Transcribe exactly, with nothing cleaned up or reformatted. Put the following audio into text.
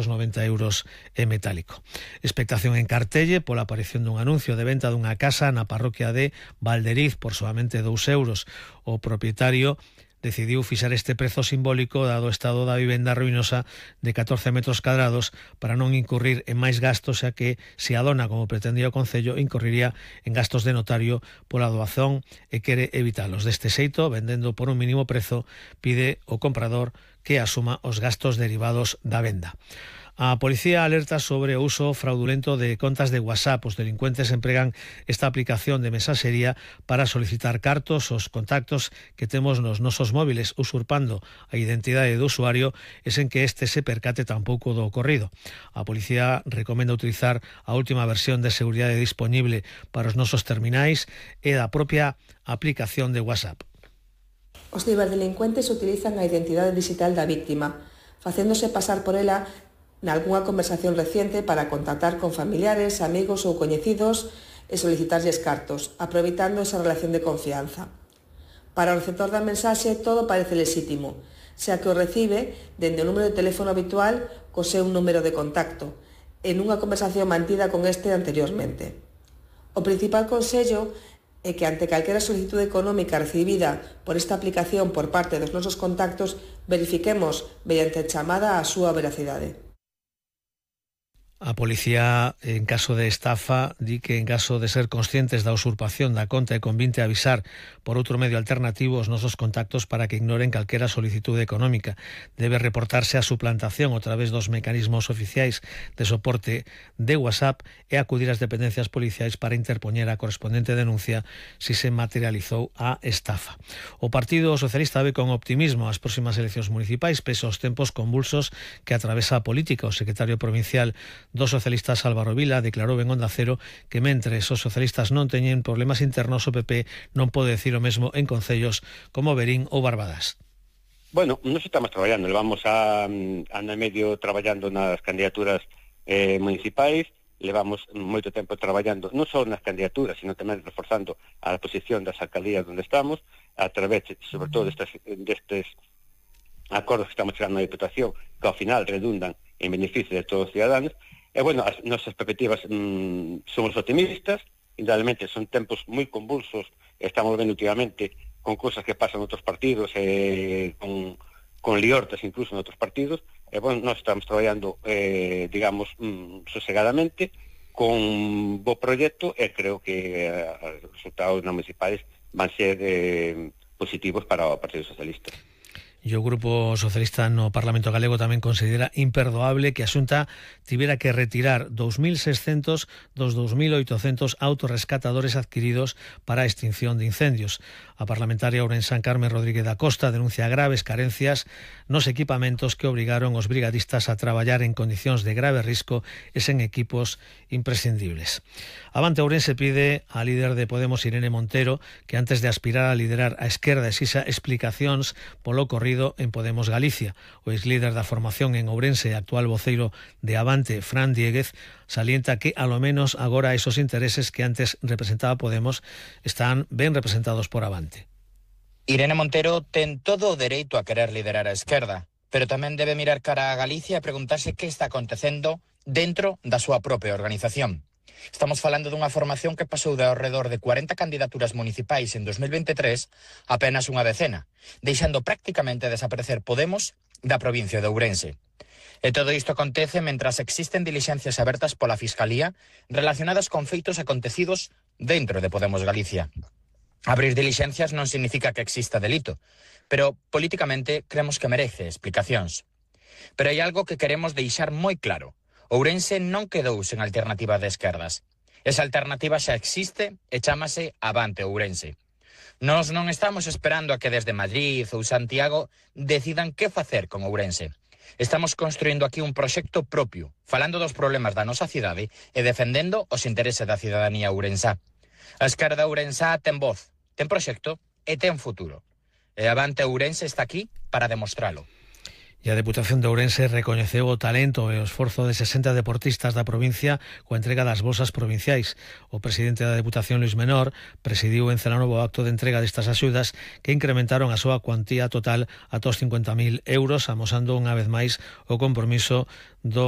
noventa euros en metálico. Expectación en Cartelle pola aparición dun anuncio de venta dunha casa na parroquia de Valderiz por solamente dous euros. O propietario decidiu fixar este prezo simbólico dado o estado da vivenda ruinosa de catorce metros cadrados para non incurrir en máis gastos, xa que se a dona, como pretendía o Concello, incurriría en gastos de notario pola doazón e quere evitalos. Deste xeito, vendendo por un mínimo prezo, pide o comprador que asuma os gastos derivados da venda. A policía alerta sobre o uso fraudulento de contas de WhatsApp. Os delincuentes empregan esta aplicación de mensaxería para solicitar cartos aos contactos que temos nos nosos móviles, usurpando a identidade do usuario e sen que este se percate tampouco do ocorrido. A policía recomenda utilizar a última versión de seguridade disponible para os nosos terminais e da propia aplicación de WhatsApp. Os ciberdelincuentes utilizan a identidade digital da víctima, facéndose pasar por ela nalgunha conversación reciente para contactar con familiares, amigos ou coñecidos e solicitarlles cartos, aproveitando esa relación de confianza. Para o receptor da mensaxe todo parece lexítimo, xa que o recibe dende o número de teléfono habitual co seu número de contacto, en unha conversación mantida con este anteriormente. O principal consello é que ante calquera solicitud económica recibida por esta aplicación por parte dos nosos contactos, verifiquemos mediante chamada a súa veracidade. A policía, en caso de estafa, di que en caso de ser conscientes da usurpación da conta e convinte avisar por outro medio alternativo os nosos contactos para que ignoren calquera solicitude económica. Debe reportarse a suplantación a través dos mecanismos oficiais de soporte de WhatsApp e acudir ás dependencias policiais para interpoñer a correspondente denuncia si se materializou a estafa. O Partido Socialista ve con optimismo as próximas eleccións municipais pese aos tempos convulsos que atravesa a política. O secretario provincial dos socialistas Álvaro Vila declarou en Onda Cero que mentres os socialistas non teñen problemas internos, o P P non pode decir o mesmo en concellos como Verín ou Barbadas. Bueno, nos estamos traballando, levamos a ano e medio traballando nas candidaturas eh, municipais, levamos moito tempo traballando non só nas candidaturas, sino tamén reforzando a posición das alcaldías onde estamos, a través, sobre todo, destes, destes acordos que estamos chegando na Diputación, que ao final redundan en beneficio de todos os ciudadanos. E, bueno, as nosas perspectivas mmm, somos optimistas, indudablemente son tempos moi convulsos, estamos vendo últimamente con cosas que pasan en outros partidos, eh, con, con liortas incluso en outros partidos, e, bueno, nós estamos traballando, eh, digamos, mmm, sosegadamente, con bo proxecto, e creo que eh, os resultados nas municipais van ser eh, positivos para o Partido Socialista. E o Grupo Socialista no Parlamento Galego tamén considera imperdoable que a Xunta tivera que retirar dous mil seiscentos dos dous mil oitocentos autorrescatadores adquiridos para a extinción de incendios. A parlamentaria ourensán Carmen Rodríguez da Costa denuncia graves carencias nos equipamentos que obrigaron os brigadistas a traballar en condicións de grave risco e sen equipos imprescindibles. Avante Ourense pide a líder de Podemos, Irene Montero, que antes de aspirar a liderar a esquerda exixa explicacións polo ocorrido en Podemos Galicia. O exlíder da formación en Ourense e actual voceiro de Avante, Fran Diéguez, salienta que, alo menos agora, esos intereses que antes representaba Podemos están ben representados por Avante. Irene Montero ten todo o dereito a querer liderar a esquerda, pero tamén debe mirar cara a Galicia e preguntarse que está acontecendo dentro da súa propia organización. Estamos falando dunha formación que pasou de ao redor de cuarenta candidaturas municipais en dos mil veintitrés a apenas unha decena, deixando prácticamente desaparecer Podemos da provincia de Ourense. E todo isto acontece mentras existen dilixencias abertas pola Fiscalía relacionadas con feitos acontecidos dentro de Podemos Galicia. Abrir dilixencias non significa que exista delito, pero políticamente creemos que merece explicacións. Pero hai algo que queremos deixar moi claro. Ourense non quedou sen alternativa de esquerdas. Esa alternativa xa existe e chámase Avante Ourense. Nós non estamos esperando a que desde Madrid ou Santiago decidan que facer con Ourense. Estamos construindo aquí un proxecto propio, falando dos problemas da nosa cidade e defendendo os intereses da cidadanía ourensá. A esquerda ourensá ten voz, ten proxecto e ten futuro. E Avante Ourense está aquí para demostralo. E a Deputación de Ourense recoñeceu o talento e o esforzo de sesenta deportistas da provincia coa entrega das bolsas provinciais. O presidente da Deputación, Luis Menor, presidiu en Celanovo o acto de entrega destas axudas que incrementaron a súa cuantía total ata os cincuenta mil euros, amosando unha vez máis o compromiso do